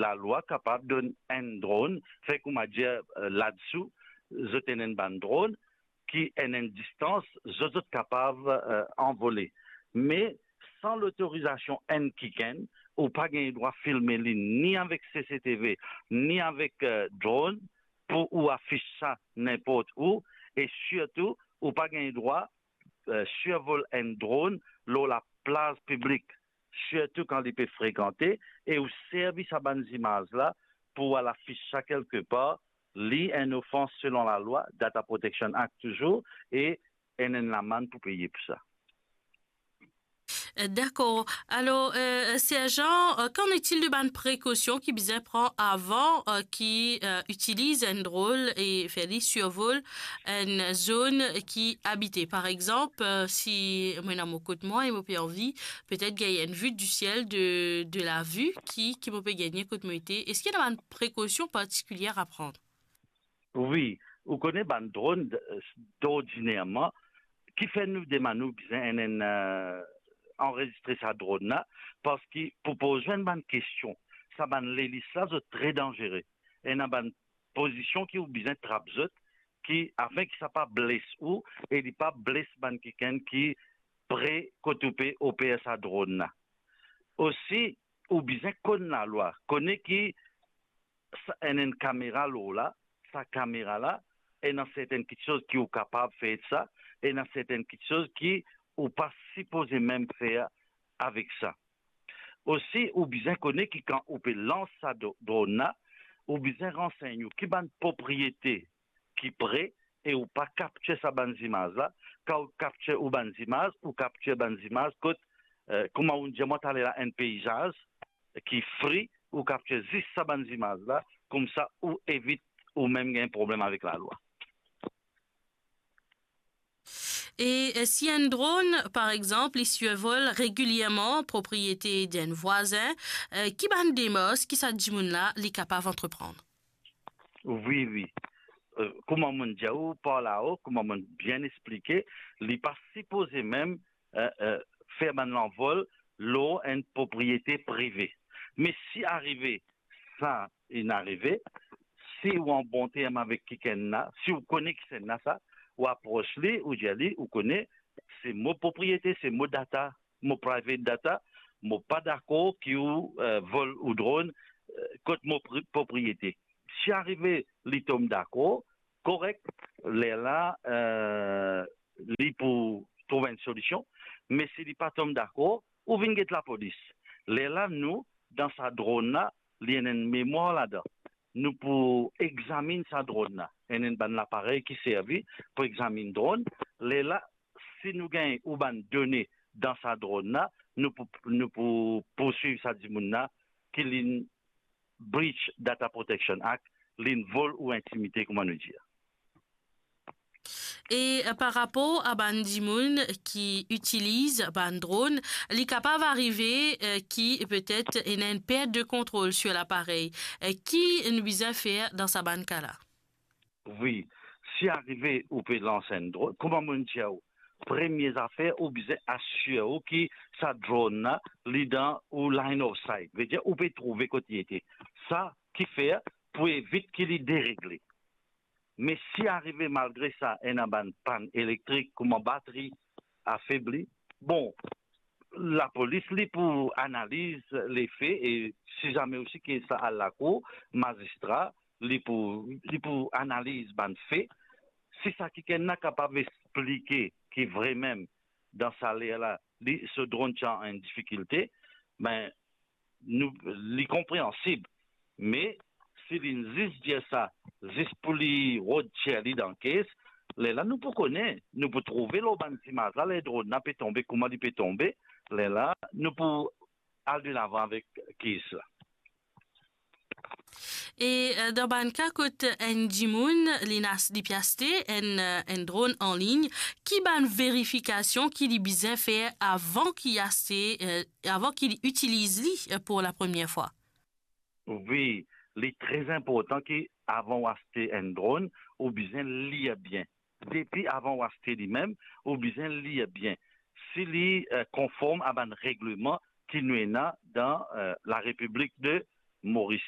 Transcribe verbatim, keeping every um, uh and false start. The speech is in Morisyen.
lalwa kapav donn enn dronn, fer kouma dir, eh, ladsou, zot ena enn bann dronn ki ena enn distans, zot, zot kapav, eh, anvole. Me san lotorizasion enn kikenn, ou pa gagn drwa filme li ni avek C C T V, ni avek, eh, dronn, pou ou afis sa ninport ou, e sirtou, ou pa gagn drwa, eh, sirvol enn dronn lor laplaz piblik, sirtou kan li pe frekante, e ou servi sa bann zimaz la pou al afis sa kelke par, li enn ofans selon lalwa, Data Protection Act touzour, e ena enn lamann pou peye pou sa. Eh, dakor. Alor, eh, Serjan, eh, qu'en est-il de bann prekosion ki bizin pran avan, eh, ki, eh, itiliz enn dronn e fer li sirvol enn zonn ki abite? Par exanp, eh, si mo ena mo kot mwa e mo pe anvi petet gagn enn vue du ciel de, de la vue ki, ki mo pe gagne kot mo ete, eski ena bann prekosion partikilie a pran? Wi, ou kone bann dronn, d-, d'ordinerman, kifer nou demann ou bizin enn, enn, eh, anrezistre sa dronn la, parski pou poz ou enn bann kestion, sa bann lelis la, zot tre danzere. Ena bann pozision ki ou bizin trap zot, ki, afin ki sa pa bles ou, e li pa bles bann kikenn ki pre kot ou pe oper sa dronn la. Osi, ou bizin konn lalwa, kone ki sa, ena enn kamera lor la, sa kamera la, ena sertenn kitsoz ki ou kapav fer sa, ena sertenn kitsoz ki ou pa sipoze mem fer avek sa. Osi, ou bizin kone ki kan ou pe lans sa dro-, dronn la, ou bizin ransegn ou ki bann propriete ki pre, e ou pa kaptir sa bann zimaz la. Kan ou kaptir ou bann zimaz, ou kaptir bann zimaz kot, eh, kouma ou dir mwa taler la, enn peizaz ki fri, ou kaptir zis sa bann zimaz la, koumsa ou evit ou mem gagn problem avek lalwa. E, eh, si enn dronn, par exanp, li sirvol regilierman propriete d'enn vwazin, eh, ki bann demars ki sa dimoun la li kapav antreprann? Wi, wi. Eh, kouma monn dir ou par lao, kouma monn bien explike, li pa sipoze mem, eh, eh, fer bann lanvol lor enn propriete prive. Me si arive sa inn arive, si ou an bon term avek kikenn la, si ou kone kikenn la sa, ou apros li, ou dir li, ou kone, se mo propriete, se mo data, mo private data, mo pa dakor ki ou, eh, vol ou dronn, eh, kot mo pri-, propriete. Si arive li tom dakor, korek, lerla, eh, li pou trouv enn solision, me si li pa tom dakor, ou vinn get lapolis. Lerla nou, dan sa dronn la, li ena enn memwar ladan. Nou pou examinn sa dronn la. Ena enn bann laparey ki servi pou examinn dronn. Lerla, si nou gagn ou bann done dan sa dronn la, nou pou, nou pou pourswiv sa dimoun la ki linn breach Data Protection Act, linn vol ou intimite, kouma nou dir. E, eh, par rapor a bann dimoun ki itiliz bann dronn, li kapav arive, eh, ki petet ena enn pert de kontrol sir laparey. Eh, ki nou bizin fer dan sa bann ka la? Wi, si arive ou pe lans enn dronn, kouma monn dir ou, premie zafer, ou bizin asir ou ki sa dronn la, li dan ou line of sight. Vedir, ou pe trouve kot li ete. Sa ki fer pou evit ki li deregle. Me si arive malgre sa ena bann pann elektrik, kouma batri afebli, bon, lapolis li pou analiz lefe, e si zame osi ki sa al lakour, mazistra, li pou, li pou analiz bann fe. Si sa kikenn la kapav explike ki vremem dan sa ler la, li, so dronn ti an difikilte, be, nou, li konpreansib. Me si linn zis dir sa, zis pou li rod tir li dan kes, lerla nou pou kone, nou pou trouve lor bann zimaz la, ler dronn la pe tonbe, kouma li pe tonbe, lerla nou pou al delavan avek kes la. E, eh, dan bann ka kot enn dimoun, li ena, li pe aste enn, eh, enn dronn anlign, ki bann verifikasion ki li bizin fer avan ki aste, eh, avan ki li itiliz li, eh, pou la premie fwa? Wi, li tre inportan ki avan ou aste enn dronn, ou bizin lir bien. Depi avan ou aste limem, ou bizin lir bien si li, eh, konform a bann regleman ki nou ena dan, eh, Larepiblik de Moris.